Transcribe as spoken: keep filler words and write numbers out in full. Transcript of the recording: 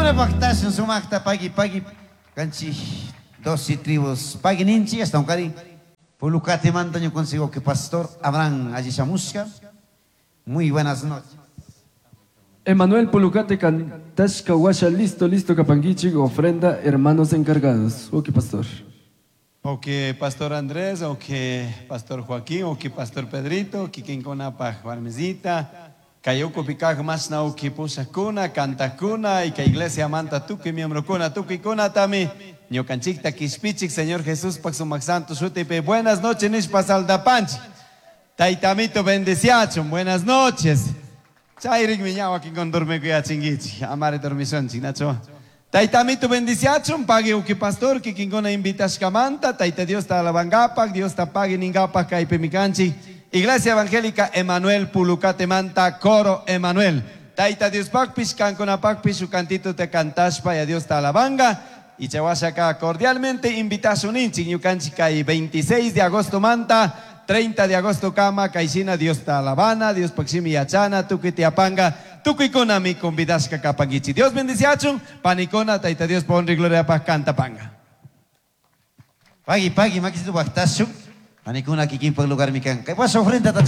Panikuna paqtashun sumaqta pagui pagui kanchik doce tribus pagui ninchik ashtawankari Pulucatemanta ñukanchik que pastor Abraham alli shamushka. Muy buenas noches. Emanuel Pulucate cantashka washa listo listo kapankichik ofrenda hermanos encargados. Ok, pastor. O que Pastor Andrés, o que Pastor Joaquín, o que Pastor Pedrito, kikinkunapaj warmisita, kay ukupi kaq mashna uki pushakuna, kantakuna, y kay iglesia manta tukuy miembrokuna, tukuykunatami, ñukanchikta kishpichik, Señor Jesús pak sumak santo shutipi, buenas noches nishpa saldapanchik. Taytamito bendiciachun, buenas noches. Chayrikmi ña wakin dormikuyachinkichik, amari dormishunchik, nacho. Taytamito bendiciachun, pagui uki pastor, kikinkuna invitashkamanta, Tayta Diosta alabangapak, Diosta pagui ningapak kaypimi kanchik. Iglesia Evangélica Emanuel Pulucatemanta, Coro Emanuel. Tayta Diospakpish, kankunapakpish, shuk cantito te cantashpa, ya Dios ta alabanga. Y chawashaka cordialmente invitashunninchik, ñukanchik kay veintiséis de agosto manta, treinta de agosto kama, kayshina Dios ta alabana, Dios pakshimi yachana, tukuy tiapanga, tukuykunami convidashka kapankichik. Dios bendiciachun, panikuna, Tayta Dios honra y gloria pa cantapanga. Pagui, pagui, makisitu paqtashun. Panikuna kikinpak lugar mi kan. Kay washa ofrenda.